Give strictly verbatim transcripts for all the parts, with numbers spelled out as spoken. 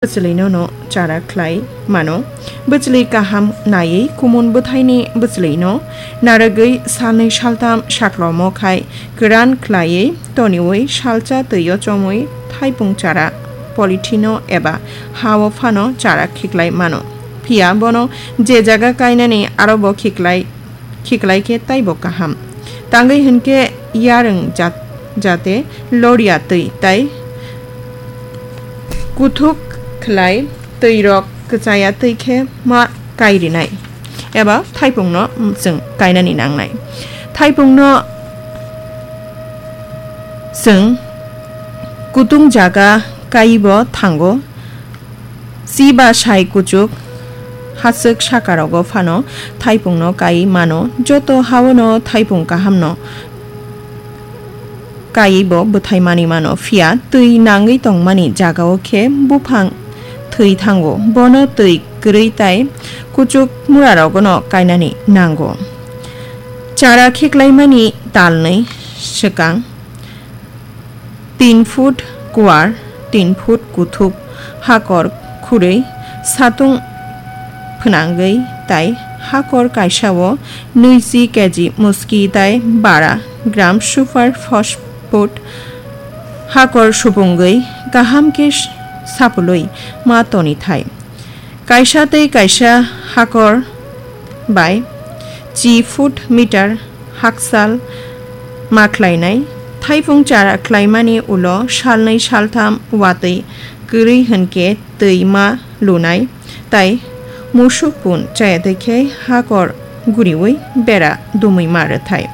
bwchwlwino no chara khlai mano. Bwchwlwi kaham naiwi kumun bwthaini bwchwlwino narwgwi salnwi saltham saklomo khai kwran khlaiwi toniwi salsa twio chomwi thaipung chara polythene-o eba ha-o phano chara khiklai mano. Phiya bono je jaga kainani arobo khiklai khiklai khe taibo kaham. Tangwi hwn khe yarwng jat-, jate loria twi tai kuthuk khlai twi rok kwchaya twi khe ma kai rinai eba thaipung no chwng kainani nangnai. Thaipung no chwng kutung jaga kaibo thango. Chiba sai kuchuk hachwk sakarogo phano thaipungno kai mano, joto haono thaipung kahamno kaibo bwthai manwi mano, phiya twi nangwi tongmani jagao khe buphang thwi thango, bono twi kwrwi tai kuchuk murarogono kainani nango. Chara khiklaimani talnwi swkang. Tin foot kuar, tin foot kuthuk, hakor khurwi satung phwnangwi tai hakor kaisao nui chi K G muski tai bara gram super phosphate hakor supungwi kaham khe sapulwi ma toni thai. Kaisa tei kaisa hakor bai chi foot meter hakchal ma khlainai. Thaipung chara khlaimani ulo salnwi saltham watwi kwrwi hwnkhe twi ma lunai tai musuk pun chaya twi khe hakor guriwi bera dumwi ma rwthai.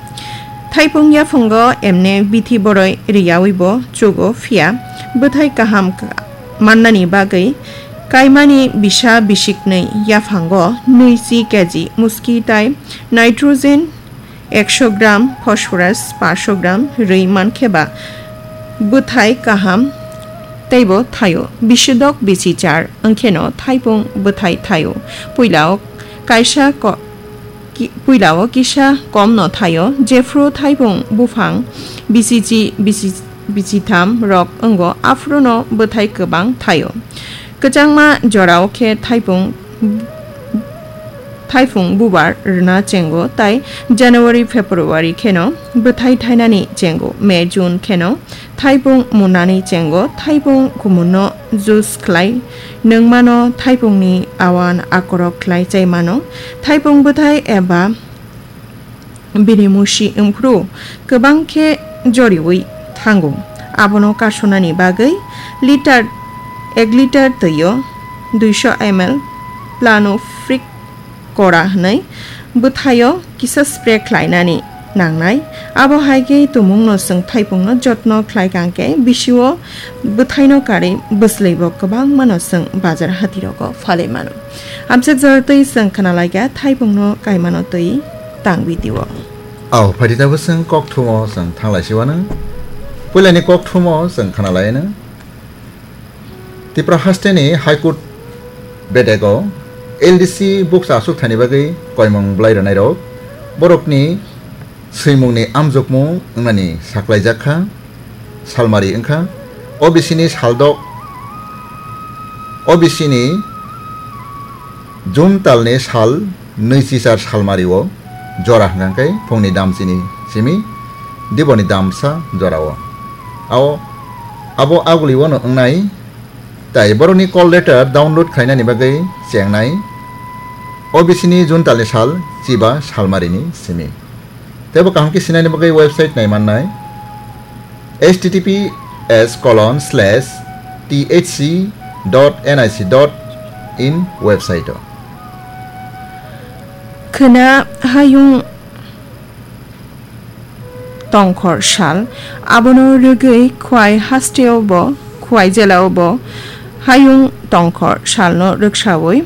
Thaipung yaphango emne bithi boroi riyawibo chugo, phiya bwthai kaham mannani bagwi kaimani bisa bisiknwi yaphango nui chi K G muski tai nitrogen ekso gram, phosphorus paanch sho gram rwi mankheba bwthai kaham teibo thaio. Bisidok bisi char wngkheno thaipung bwthai thaio. Puilao kaisa ko-, ki-, puilao kisa komno thaio, jephru thaipung buphang bisichi, bisi-, bisichitham rok wngo, aphruno bwthai kwbang thaio. Kwchangma jorao khe thaipung, thaipung bubar rwna chengo, tai January, February kheno bwthai thainani chengo. May, June kheno thaipung munani chengo, thaipung kumunno juice khlai nungmano, thaipungni awan akorok khlai chai mano, thaipung bwthai eba bini musi wngphru kwbang khe joriwi thango. Abono kasonani bagwi litar, ek litar twio duiso M L Plano Fric Cora hwnwi bwthaio kisa spray khlainani nangnai. Abo hai khe tumungno chwng thaipungno jotno khlai kang khe bisio bwthaino karwi bwslibo kwbangmano chwng bazar hatirogo phalwi mano. Amchak jora twi chwng khna lai kha thaipungno kaimano twi tang video. Au, phaidi tabuk chwng kokthumo chwng thang lai si uanw. Puilani kokthumo chwng khna lai anw. Tipra hasteni High Court bedego L D C bukcha aswk thani bagwi koimung bwlai rwnairok borokni swimungni amjokmung wngnani saklaijak kha, salmari wngkha. O B C ni saldok, O B C ni June talni sal nui chichar salmario jora hwnkha khe phungni dam chini simi diboni damsa jorao. Ao abo agulio no wngnai, tai borokni call letter download khlainani bagwi chengnai O B C ni June talni sal chiba salmarini simi. Teibo kaham khe sinani bagwi website nai mannai, H T T P S colon slash T H C dot N I C dot in website o. Khwna hayung tongkhor sal, abono rwgwi Khwai hasteo bo, Khwai jelao bo hayung tongkhor salno rwksawi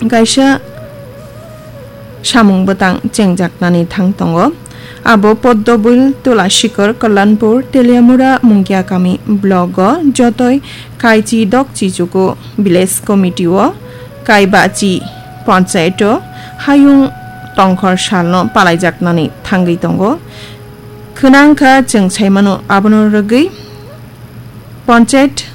kaisa samung bwtang chengjaknani thang tongo. Abo Poddobil, Tulashikhor, Kalyanpur, Teliamura, Mungiakami block o jotoi Kaichi Dokchi Chuku village committee o Kaibachi panchayat o hayung tongkhor salno palaijaknani thangwi tongo. Khwnang kha chwng saimano abono rwgwi panchayat